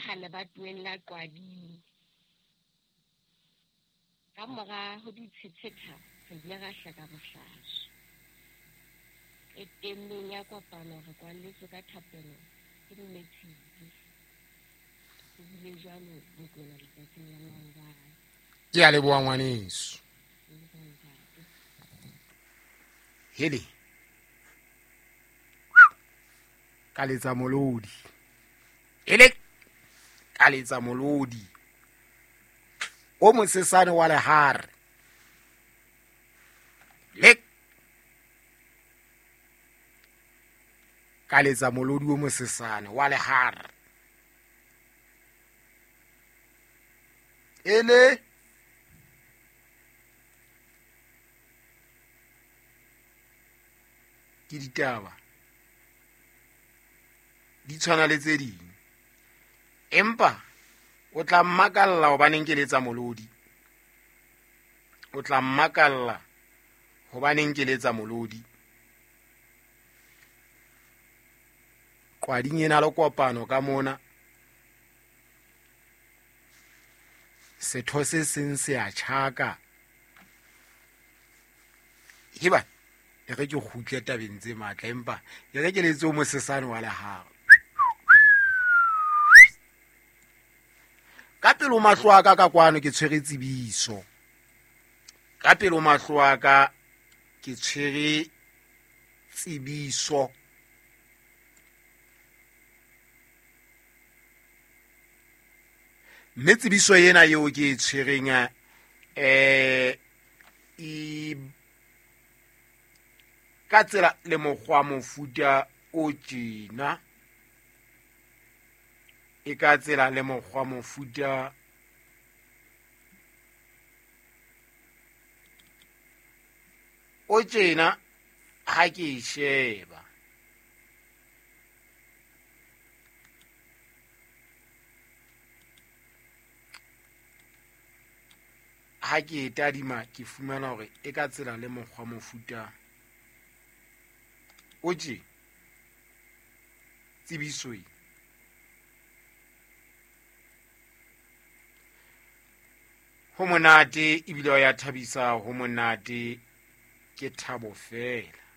hlaha lebatoweng la Qwading. Ka mora ho di tshetshetsha, re ile ra hleka bohlaswa. Qetellong ya kopano re kwalletswe ka thapelo ke Mme Tshibi. Ho bile jwalo Mokwena letsatsing la maobane. Ke a leboha ngwaneso. Hele. Ka letsa molodi. Hele. Ka letsa molodi. O mosesane wa lehare. Le ka letsa molodi o mosesane wa lehare. Ele ke ditaba di tshwana le tse ding empa o tla mmakalla hobaneng ke letsa molodi o tla mmakalla hobaneng ke letsa molodi qwading ena le kopano ka mona setho se seng se a tjhaka heba e re ke kgutle tabeng tse matla empa e re ke letse o mosesane wa lehago ka pelo mahlo a ka ka kwano ke tshwere tsebiso ka pelo mahlo a ka ke tshwere tsebiso mme tsebiso ena eo ke e tshwereng um e ka tsela le mokgwa mofuta o tjena e ka tsela le mokgwa mofuta o tjena ha ke e sheba ha ke e tadima ke fumana hore e ka tsela le mokgwa mofuta o tje tsebiso e ho monate ebile ya thabisa ho monate ke thabo fela.